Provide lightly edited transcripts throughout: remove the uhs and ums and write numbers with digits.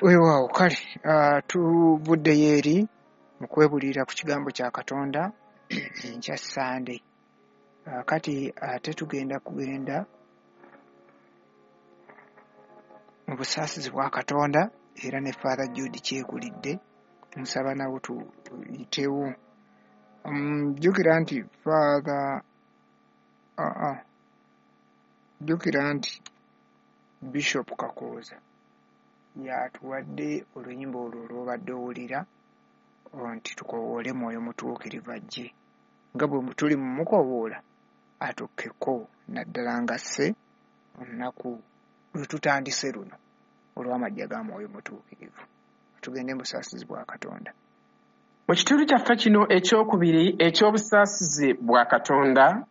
Weewaawo kale tuvuddeyo eri mu kwebuulirira ku kigambo kya Katonda enkya Ssande. Kati ate tugenda kugenda mu busaasizi bwa Katonda era ne Father Jude Kyekulidde nsaba nawo tuyitewo. Jjukira nti Father jjukira nti Bishop Kakooza y'atuwadde oluyimba olwo lw'obadde owulira nti tukoowoole Mwoyo Mutuukirivu ajje. Nga bwe tuli mu mukoowoola atukkeko naddala ng'asse olunaku lwe tutandise luno olw'amajja ga Mwoyo Mutuukirivu. Tugende mu busaasizi bwa Katonda. Mu kitundu kyaffe kino ekyokubiri eky'obusaasizi bwa Katonda,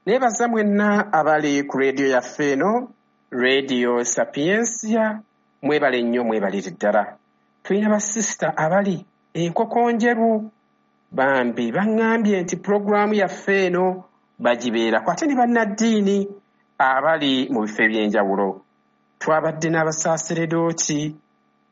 neebaza mwenna abali ku leediyo yaffe eno, Leediyo Sapiensia, mwebale nnyo mwebalire ddala. Tulina basisita abali Enkokonjeru bambi baŋŋambye nti pulogulaamu yaffe eno bagibeerako ate ne bannaddiini abali mu bifo eby'enjawulo. Twabadde n'abasaaseredooti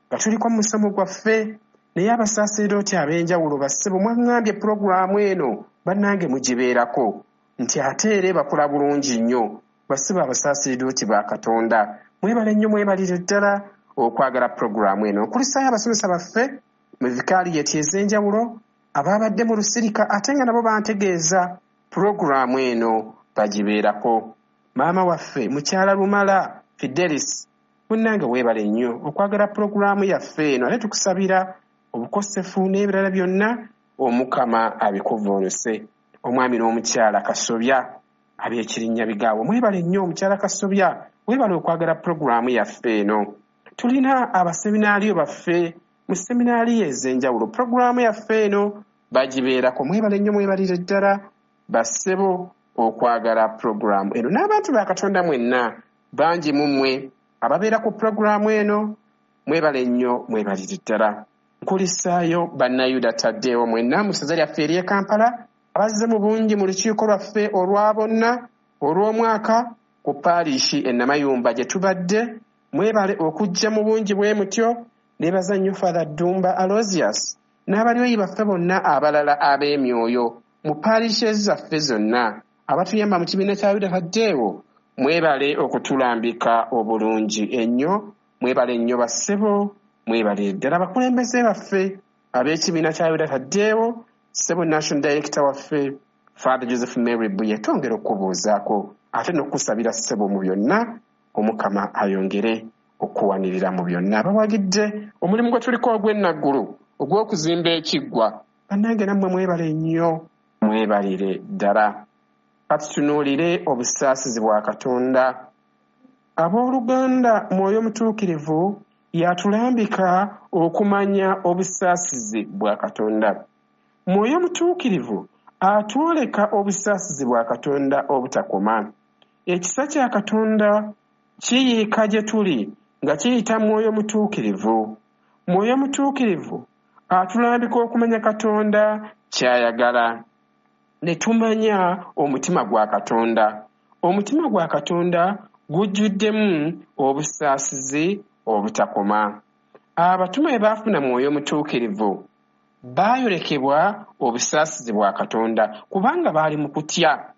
nga tuliko mu musomo gwaffe naye abasaaseredooti ab'enjawulo bassebo mwaŋŋambye pulogulaamu eno bannange mugibeerako nti ate era ebakola bulungi nnyo. Bassebo abasaaseredooti ba Katonda mwebale nnyo mwebalire ddala okwagala pulogulaamu eno. Nkulisaayo abasomesa baffe mu vikaaliyeti ez'enjawulo abaabadde mu lusirika ate nga nabo bantegeeza pulogulaamu eno bagibeerako. Maama waffe mukyala Lumala Fidelis munnange weebale nnyo okwagala pulogulaamu yaffe eno ate tukusabira obukosefu n'ebirala byonna Omukama abikuvvuunuse. Omwami n'omukyala Kasobya ab'Ekirinnyabigaawo mwebale nnyo. Omukyala Kasobya weebale okwagala pulogulaamu yaffe eno. Tulina abaseminaaliyo baffe mu seminaaliyo ez'enjawulo pulogulaamu yaffe eno bagibeerako. Mwebale nnyo mwebalire ddala bassebo okwagala pulogulaamu eno n'abantu ba Katonda mwenna bangi mu mmwe ababeera ku pulogulaamu eno mwebale nnyo mwebalire ddala. Nkulisaayo Bannayuda Taddeewo mwenna mu ssaza lyaffe ery'e Kampala abazze mu bungi mu lukiiko lwaffe olwa bonna olw'omwaka ku paarishi e Namayumba gye tubadde. Mwebale okujja mu bungi bwe mutyo. Neebaza nnyo Father Ddumba Aloysius n'abalyoyi baffe bonna abalala ab'emyoyo mu parishes zaffe zonna abatuyamba mu kibiina kya Yuda Taddeewo. Mwebale okutulambika obulungi ennyo. Mwebale nnyo bassebo, mwebale ddala abakulembeze baffe ab'ekibiina kya Yuda Taddeewo. Ssebo National Director waffe Father Joseph Mary Buye, twongera okukubuuzaako ate n'okukusabira ssebo mu byonna Omukama ayongere okuwanirira mu byonna. Abawagidde omulimu gwe tuliko ogw'ennaggulu ogw'okuzimba ekiggwa, bannange nammwe mwebale nnyo, mwebalire ddala. Katutunuulire obusaasizi bwa Katonda. Abooluganda, Mwoyo Mutuukirivu y'atulambika okumanya obusaasizi bwa Katonda. Mwoyo Mutuukirivu atwoleka obusaasizi bwa Katonda obutakoma. Ekisa kya Katonda kiyiika gye tuli nga kiyita Mwoyo Mutuukirivu. Mwoyo Mutuukirivu atulambika okumanya Katonda ky'ayagala, ne tumanya omutima gwa Katonda. Omutima gwa Katonda gujjuddemu obusaasizi obutakoma. Abatume bwe baafuna Mwoyo Mutuukirivu, baayolekebwa obusaasizi bwa Katonda kubanga baali mu kutya,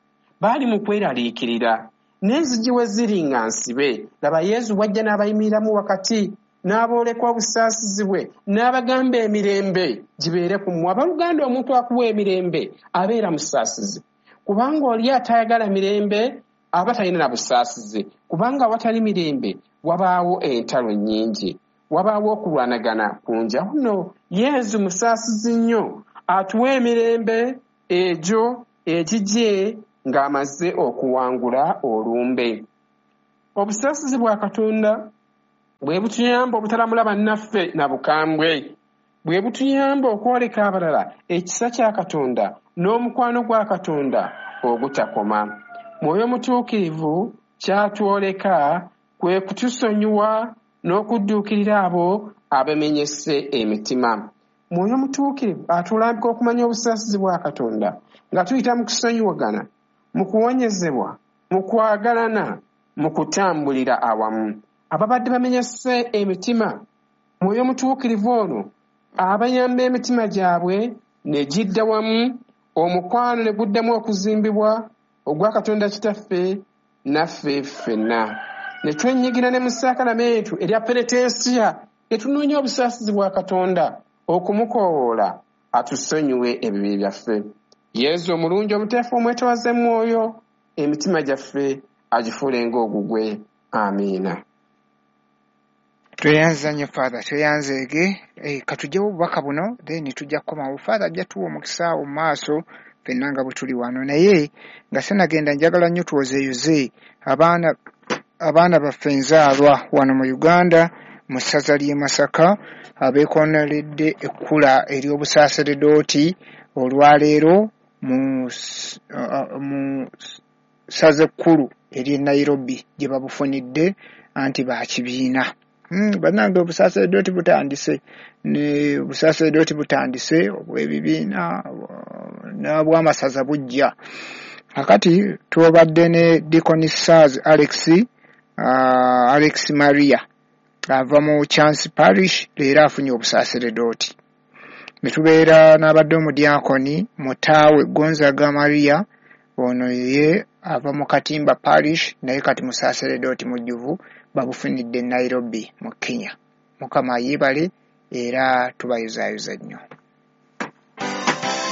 baali mu kweraliikirira, n'enzigi we ziri nga nsibe. Laba Yezu bw'ajja n'abayimiriramu wakati, n'abooleka obusaasizi bwe, n'abagamba emirembe gibeere ku mmwe. Abooluganda, omuntu akuwa emirembe abeera musaasizi, kubanga oli atayagala mirembe aba talina na busaasizi, kubanga awatali mirembe wabaawo entalo nnyingi, wabaawo okulwanagana kungi. Awo nno Yezu musaasizi nnyo, atuwa emirembe egyo egigye ng'amaze okuwangula olumbe. Obusaasizi bwa Katonda bwe butuyamba obutalamula bannaffe na bukambwe, bwe butuyamba okwoleka abalala ekisa kya Katonda n'omukwano gwa Katonda ogutakoma. Mwoyo Mutuukirivu ky'atwoleka kwe kutusonyiwa n'okudduukirira abo abamenyese emitima. Mwoyo Mutuukirivu atulambika okumanya obusaasizi bwa Katonda nga tuyita mu kusonyiwagana, mu kuwonyezebwa, mu kwagalana, mu kutambulira awamu. Ababadde bamenyese emitima Mwoyo Mutuukirivu ono abayamba emitima gyabwe ne gidda wamu, omukwano ne guddamu okuzimbibwa ogwa Katonda Kitaffe naffe ffenna. Ne twenyigira ne mu saakalamentu erya penetensiya, ne tunoonya obusaasizi bwa Katonda okumukoowoola atusonyiwe ebibi byaffe. Yezu omulungi omuteefu omwetowaze mwoyo, emitima gyaffe agifuule ng'ogugwe. Amiina. Tweyanza nnyo Father, tweyanzeege. Katugyewo obubaka buno then tujja kukomawo. Father ajja tuwa omukisa awo mu maaso ffenna nga bwe tuli wano, naye nga sinagenda njagala nnyo twozeeyoze abaana baffe nzaalwa wano mu Uganda mu ssaza ly'e Masaka abeekoneredde ekkula ery'obusaaseredooti olwaleero mu ssaza ekkulu ery'e Nairobi gye babufunidde anti baakibiina. Bannange obusaaseredooti butandise, ne obusaaseredooti butandise obw'ebibiina n'obw'amasaza bujja. Kakati tubadde ne Deacon Sars Alex Maria ava mu Chance Parish, leero afunye obusaaseredooti. Ne tubeera n'abadde omudiakoni Mutaawe Gonzaga Maria, ono ye ava mu Katimba Parish, naye kati musaaseredooti mujjuvu, babufunidde Nairobi mu Kenya. Mukama yeebale era tubayozaayoza nnyo.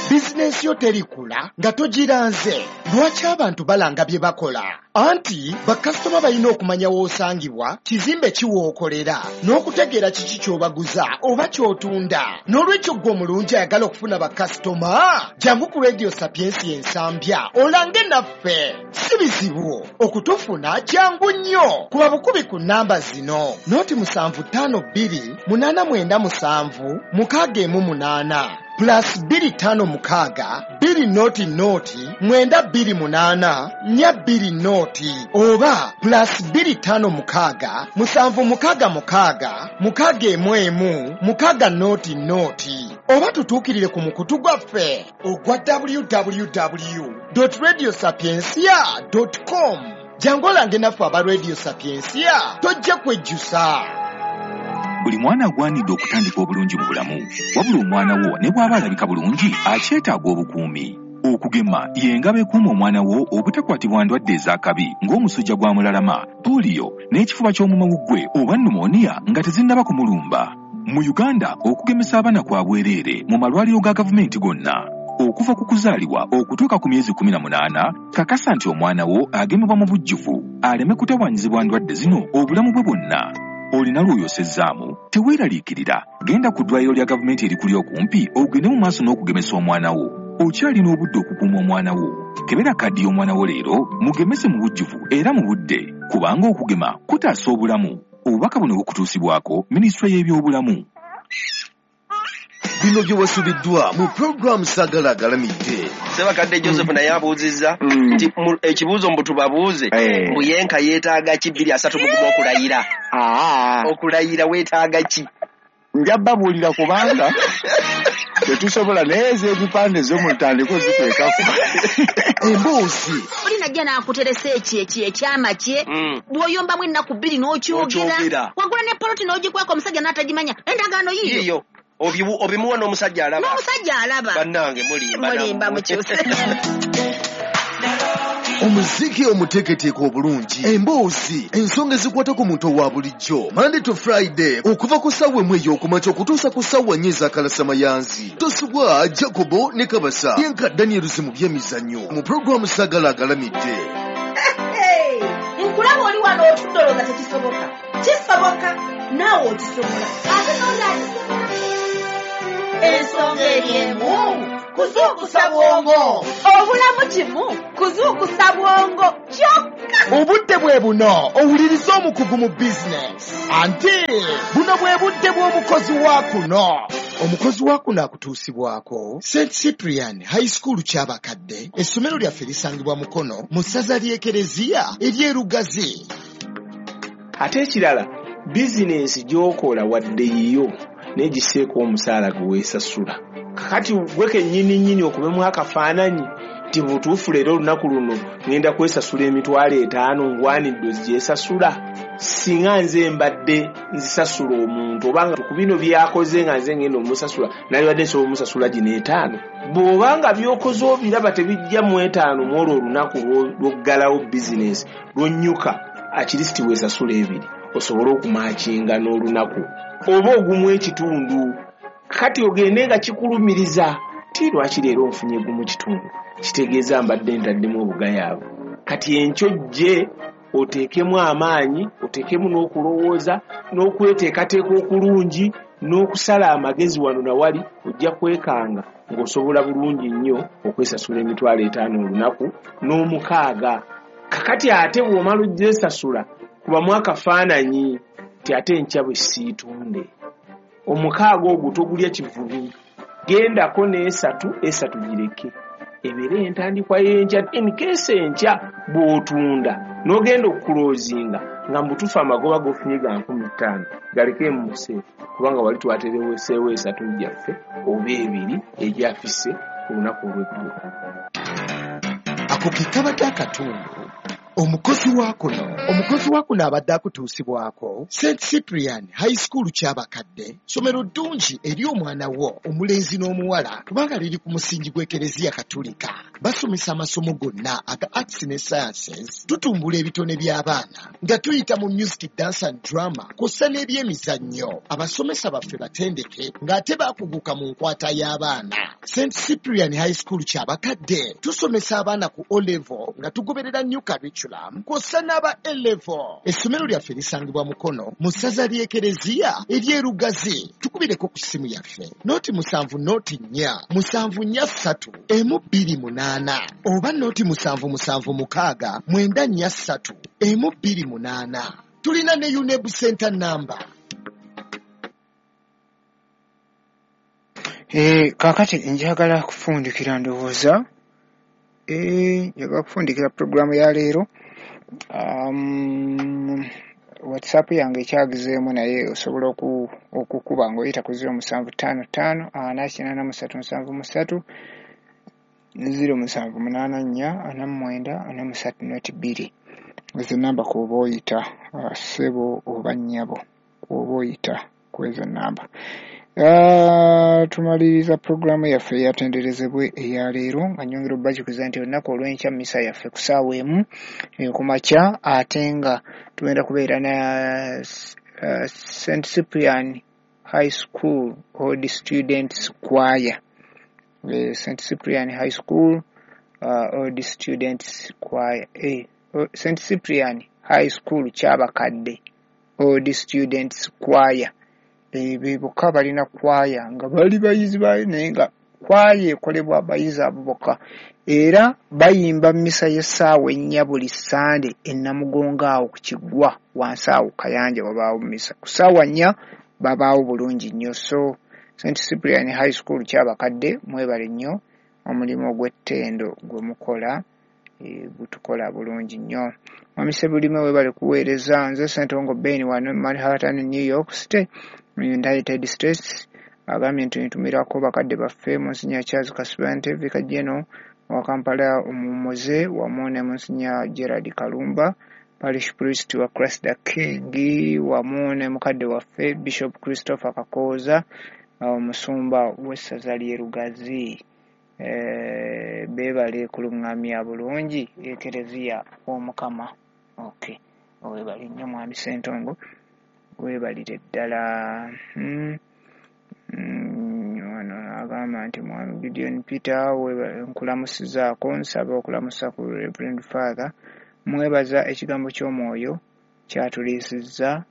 Bizinensi yo terikula nga togiranze. Lwaki abantu balanga bye bakola? Anti bakasitoma balina okumanya w'osangibwa, kizimbe ki w'okolera, n'okutegeera kiki ky'obaguza oba ky'otunda. N'olwekyo ggwe omulungi ayagala okufuna bakasitoma, jangu ku Radio Sapiensia Ensambya olange naffe. Si bizibu okutufuna, jangu nnyo. Kuba bukubi ku nnamba zino: 0752 897 618 plus 256 2 0 0 928 4 20 oba plus 256 766 611 6 0 oba tutuukirire ku mukutu gwaffe ogwa www.radiosapiensia.com. Jangu olange naffe aba Radio Sapiensia, tojja kwejjusa. Buli mwana agwanidde okutandika obulungi mu bulamu, wabula omwana wo ne bw'aba alabika bulungi akyetaaga obukuumi. Okugema y'engabo ekuuma omwana wo obutakwatibwa ndwadde ez'akabi ng'omusujja gwa mulalama, pooliyo n'ekifuba ky'omumawuggwe oba pneumonia nga tezinnaba kumulumba. Mu Uganda okugemesa abaana kwa bwereere mu malwaliro ga gavumenti gonna. Okuva ku kuzaalibwa okutuuka ku myezi 18, kakasa nti omwana wo agemebwa mu bujjuvu aleme kutawaanyizibwa ndwadde zino obulamu bwe bwonna. Olina lw'oyosezzaamu, teweeraliikirira, genda ku ddwaliro lya gavumenti erikuli okumpi ogende mu maaso n'okugemesa omwana wo. Okyalina obudde okukuuma omwana wo. Kebera kaddi y'omwana wo leero, mugemese mu bujjuvu era mu budde, kubanga okugema kutaasa obulamu. Obubaka buno bukutuusibwako Minisitule y'Ebyobulamu. Bino bye wasubiddwa mu pulogulaamu Saagala Agalamidde. Ssebakadde Joseph naye abuuzizza nti ekibuuzo mbu tubabuuze, mbu yenka yeetaaga ki 2031 okulayira? Okulayira weetaaga ki? Nja babuulira kubanga tetusobola, naye ez'ebipande zo mutandike oziteekako. Emboozi. Oli najja n'akuteresa ekyo ekyama kye, bw'oyombamu ennaku 2 n'okyogera, wagula ne poloti n'ogikweka omusajja n'atagimanya, endagaano yiyo. Obimuwa n'omusajja alaba. N'omusajja alaba. Bannange mulimba. Mulimba mukyuse. Omuziki omuteeketeeke obulungi, emboozi, ensonga ezikwata ku muntu owa bulijjo. Monday to Friday okuva ku ssaawa 1 ey'okumakya okutuusa ku ssaawa 4 ez'akalasamayanzi. Tosubwa Jacobo ne Kabasa yenka Daniels mu byemizannyo mu pulogulaamu Saagala Agalamidde. Nkulaba oli wano otudde olowooza tekisoboka. Kisoboka, naawe okisobola. Ate n'oli akisobola. Ensonga eri emu, kuzuukusa bwongo. Obulamu kimu, kuzuukusa bwongo kyokka. Obudde bwe buno owuliriza omukugu mu bizinesi. Anti buno bwe budde bw'omukozi wa kuno. Omukozi wa kuno akutuusibwako St Cyprian High School Kyabakadde. Essomero lyaffe lisangibwa Mukono mu ssaza ly'Ekereziya ery'e Lugazi. Ate ekirala, bizinensi gy'okola wadde yiyo naye giseeko omusaala gwe weesasula. Kakati gwe kennyini nnyini okubemu akafaananyi Nti butuufu leero olunaku luno ŋŋenda kwesasula 50,000, ngwanidde ogyesasula. Singa nze mbadde nzisasula omuntu, obanga ku bino by'akoze nga nze ŋŋenda omusasula, nalibadde nsobola omusasula gino 5. Bw'obanga by'okoze obiraba tebijja mu 5 mu olwo olunaku lw'oggalawo bizinesi lw'onnyuka, akirisiti weesasula 2 osobole okumakinga n'olunaku oba ogumu ekitundu. Kati ogende nga kikulumiriza ti lwaki leero nfunye 1.5, kitegeeza mbadde ntaddemu obugayaavu. Kati enkyo jje oteekemu amaanyi, oteekemu n'okulowooza n'okweteekateeka okulungi n'okusala amagezi wano na wali, ojja kwekanga ng'osobola bulungi nnyo okwesasula 50,000 olunaku n'omukaaga. Kakati ate bw'omala ogyesasula kubamu akafaananyi nti ate enkya bwe siitunde omukaaga ogwo togulya kivubi, gendako n'esatu, 3 gireke ebeere entandikwa y'enkya. In case enkya bw'otunda n'ogenda okukuloozinga nga mubutuufu amagoba g'ofunye ga 5,000 galeke mu museefu, kubanga wali twatereweseewo 3 gyaffe oba 2 egyafise ku lunaku olw'eggulo. Ako ke kabadde akatundu. Omukozi wa kuno, omukozi wa kuno abadde akutuusibwako St Cyprian High School Kyabakadde, ssomero ddungi eri omwana wo omulenzi n'omuwala kubanga liri ku musingi gw'Ekereziya Katulika. Basomesa amasomo gonna aga arts ne sciences, tutumbula ebitone by'abaana nga tuyita mu music, dance and drama kw'ossa n'ebyemizannyo. Abasomesa baffe batendeke ng'ate baakuguka mu nkwata y'abaana. St Cyprian High School Kyabakadde tusomesa abaana ku O level nga tugoberera new curriculum kw'ossa n'aba A level. Essomero lyaffe lisangibwa Mukono mu ssaza ly'Ekereziya ery'Erugazi. Tukubireko ku ssimu yaffe 0 7 04 7 43 128 oba 077 694 31 28. Tulina ne UNEB Center number. Kaakati njagala kufundikira, ndowooza njagala kufundikira puroguramu ya leero. WhatsApp yange ekyagizeemu, naye osobola okukuba ng'oyita ku 0755 483 73, 0784 49 43 02. Ezo namba kw'oba oyita, ssebo oba nnyabo, kw'oba oyita ku ezo namba. Tumaliriza puroguramu yaffe eyatenderezebwe eya leero nga nnyongera okubajjukiza nti olunaku olw'enkya mmisa yaffe ku ssaawa 1 ku makya, ate nga tugenda kubeera na St Cyprian High School Old Students Choir. St Cyprian High School Old Students Choir, St Cyprian High School Kyabakadde Old Students Choir. Be bokka balina kwaya nga bali bayizi baayo, naye nga kwaya ekolebwa abayizi abo bokka, era bayimba mmisa y'essaawa 4 buli Ssande e Namugongo awo ku kiggwa wansi awo Kayanja wabaawo mmisa ku ssaawa 4, babaawo bulungi nnyo. So St Cyprian High School Kyabakadde, mwebale nnyo omulimu ogw'ettendo gwe mukola, gutukola bulungi nnyo. Mwami Ssebulime, weebale kuweereza. Nze Ssentongo Ben wano Manhattan, New York City mu United States. Agambye nti ntumirako bakadde baffe Monsignor Charles Kasibante, Vicar General wa Kampala omuwummuze, wamu ne Monsignor Gerard Kalumba, Parish Priest wa Christ the King, wamu ne mukadde waffe Bishop Christopher Kakooza, omusumba w'essaza ly'e Lugazi. Beebale kuluŋŋamya bulungi Ekereziya w'Omukama. Okay, weebale nnyo Mwami Ssentongo, weebalire ddala. Wano agamba nti Mwami Gideon Peter, nkulamusizaako, nsaba okulamusa ku Reverend Father, mwebaza ekigambo ky'omwoyo kyatuliisizza,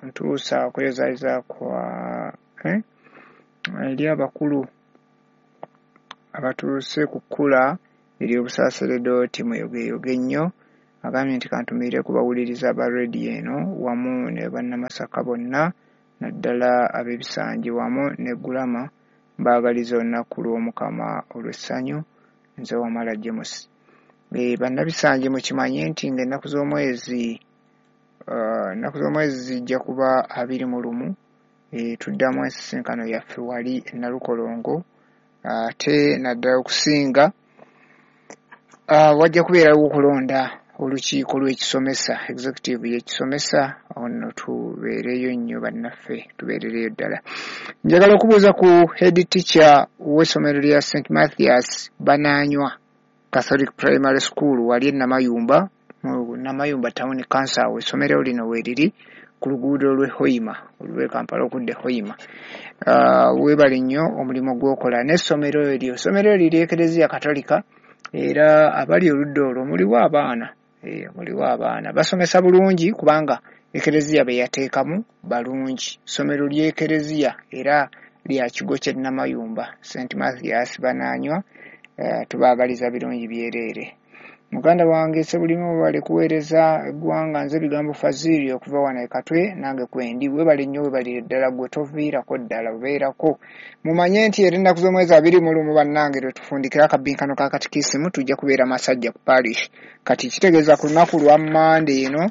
ntuusa okweyozayoza kwa eri abakulu abatuuse ku kkula ery'obusaaseredooti, mweyogeeyoge nnyo. Agambye nti kantumiire ku bawuliriza ba rediyo eno wamu ne bannamasaka bonna, naddala ab'ebisangi wamu ne Gulama, mbaagaliza olunaku lw'Omukama olw'essanyu. Nze Wamala James. Bannabisangi mukimanye nti ng'ennaku z'omwezi zijja kuba 21, tuddamu ensisinkano yaffe wali e Nalukolongo, ate naddala okusinga Wajja kubeerawo okulonda olukiiko lw'ekisomesa, executive y'ekisomesa. Ono tubeereyo nnyo bannaffe, tubeerereyo ddala. Njagala okubuuza ku head teacher w'essomero lya St Mathias Banaanywa Catholic Primary School wali e Namayumba, mu Namayumba Town Council. Awo essomero lino weeriri ku luguudo lw'e Hoima, olw'e Kampala okudda e Hoima. Weebale nnyo omulimu gw'okola n'essomero eryo. Essomero eryo ly'Ekereziya Katolika, era abali oludda olwo muliwo abaana, muliwo abaana basomesa bulungi kubanga Ekereziya be yateekamu balungi. Ssomero ly'Ekereziya era lya kigo ky'e Namayumba, St Mathias Banaanywa. Tubaagaliza birungi byereere. Muganda wange Ssebulimu, webale kuweereza eggwanga. Nze Bigambo Faziri okuva wano e Katwe, nange kwendi. Webale nnyo, webalire ddala, gwe toviirako ddala, obeerako. Mumanye nti era ennaku z'omwezi 21 bannange lwe tufundikira akabbinkano ka katikisimu, tujja kubeera Masajja ku parish. Kati kitegeeza ku lunaku lwa Mmande eno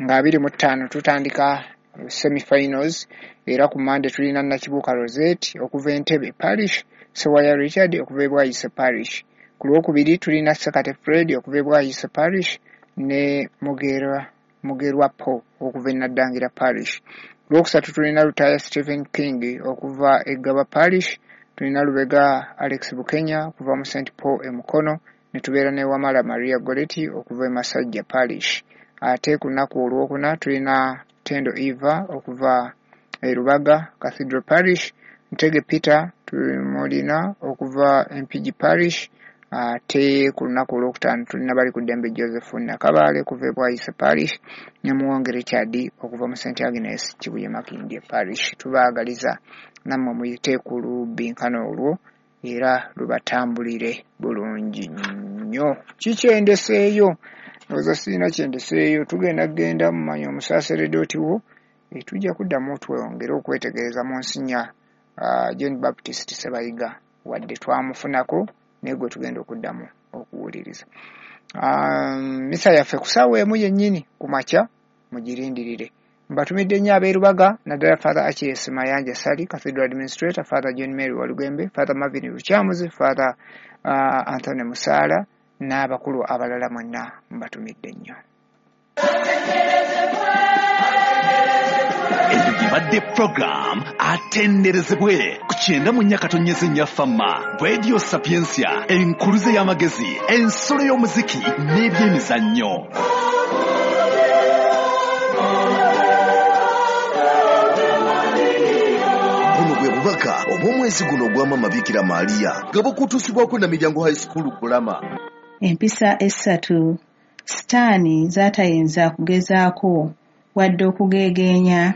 nga 25 tutandika semifinals, era ku Mmande tulina Nakibuuka Rosette okuva Entebbe Parish, Sewaya Richard okuva e Bwayise Parish. Ku Lwokubiri tulina Ssekate Fred okuva e Bwayise Parish ne Mugerwa Paul okuva e Naddangira Parish. Ku Lwokusatu tulina Lutaaya Stephen King okuva e Ggaba Parish, tulina Lubega Alex Bukenya okuva mu St Paul e Mukono, ne tubeera ne Wamala Maria Goretti okuva e Masajja Parish. Ate ku lunaku olwokuna tulina Tendo Eva okuva e Rubaga Cathedral Parish, Ntege Peter tumulina okuva Mpigi Parish. Ate ku lunaku olwokutaano tulina Balikuddembe Joseph Nakabaale okuva e Bwayise Parish ne Muwonge Richard okuva mu St Agnes Kibuye Makindye Parish. Tubaagaliza nammwe muyite ku lubbinkano olwo era lubatambulire bulungi nnyo. Kikyendeseeyo? Ndowooza sirina kyendeseeyo. Tugenda kugenda mumanyi omusaaseredooti wo, tujja kuddamu twongere okwetegereza mu nsinya John Baptist Ssebayiga, wadde twamufunako naye gwe tugenda okuddamu okuwuliriza. Misa yaffe ku ssaawa 1 yennyini ku makya, mugirindirire. Mbatumidde nnyo ab'e Rubaga, naddala Father Achilles Mayanja Ssali, Cathedral Administrator, Father John Mary Walugembe, Father Marvin Lukyamuzi, Father Anthony Musaala n'abakulu abalala mwenna mbatumidde nnyo. Eyo gibadde program atenderezebwe ku 94.4 Fama Radio Sapientia, enkuluze y'amagezi, ensolo y'omuziki n'ebyemizannyo. Buno bwe bubaka obw'omwezi guno ogwa Maama Bikira Maria nga bukutuusibwako Namiryango High School Kulama. Empisa 3 Sitaani z'atayinza kugezaako wadde okugeegeenya.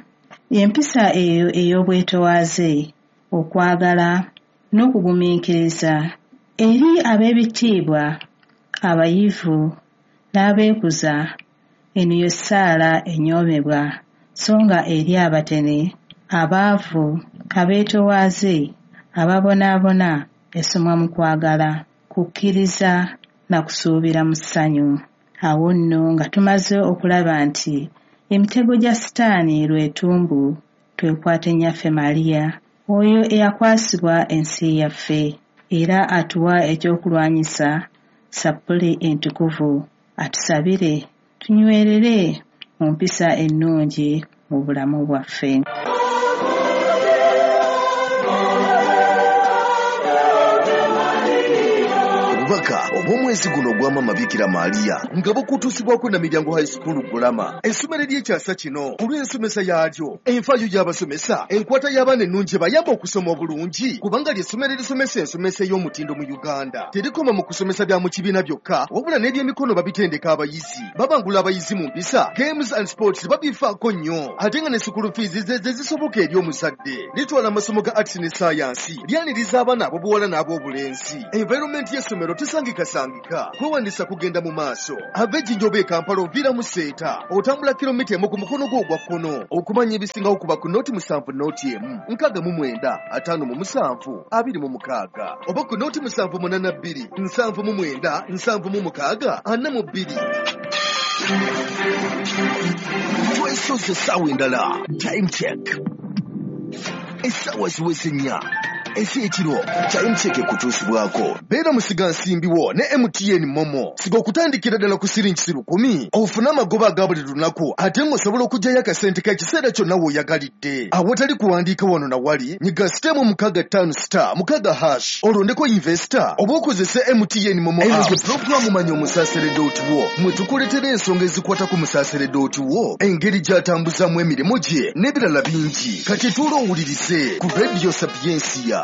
Empisa eyo ey'obwetowaaze, okwagala n'okugumiikiriza eri ab'ebitiibwa, abayivu n'abeekuza, eno ye ssaala enyoomebwa, so nga eri abatene, abaavu, abeetowaaze, ababonaabona esomwa mu kwagala, kukkiriza na kusuubira mu ssanyu. Awo nno nga tumaze okulaba nti emitego gya Sitaani lwetumbu, twekwate Nnyaffe Maria, oyo eyakwasibwa ensi yaffe, era atuwa ekyokulwanyisa sappuli entukuvu, atusabire tunywerere mu mpisa ennungi mu bulamu bwaffe. Obubaka obw'omwezi guno ogwa Maama Bikira Maria nga bukutuusibwako Namiryango High School Kulama, essomero ery'ekyasa kino olw'ensomesa yaalyo, enfaayo y'abasomesa, enkwata y'abaana ennungi ebayamba okusoma obulungi, kubanga ly'essomero erisomesa ensomesa ey'omutindo mu Uganda. Terikoma mu kusomesa bya mu kibiina byokka, wabula n'ebyemikono babitendeka abayizi, babangula abayizi mu mpisa, games and sports babifaako nnyo, ate nga ne school fees ze zisoboka eri omuzadde. Litwala amasomo ga arts ne science, lyaniriza abaana ab'obuwala n'ab'obulenzi. Environment y'essomero tesangikasangika, kwewandiisa kugenda mu maaso. Ava Ejjinja oba e Kampala oviira mu Seeta, otambula kilomita 1 ku mukono gwo ogwa kkono. Okumanya ebisingawo kuba ku 070 1 69 57 26 oba ku 0782 79 76 42. Twesoze essaawa endala. Time check. Essaawa ziweze 4. Ez'ekiro Time Check ekutuusibwako. Beera musigansimbi wo ne MTN Momo. Siga okutandikira ddala ku siringi 1,000 ofune amagoba aga buli lunaku, ate ng'osobola okuggyayo akasente k'ekiseera kyonna w'oyagalidde. Awatali kuwandiika wano na wali, nyiga *656*6# olondeko investor oba okozese MTN Momo app. Eno pulogulaamu Manya Omusaseredooti wo, mwe tukuleetera ensonga ezikwata ku musaseredooti wo, engeri gy'atambuzaamu emirimu gye n'ebirala bingi. Kati tuula owulirize ku Radio Sapiensia.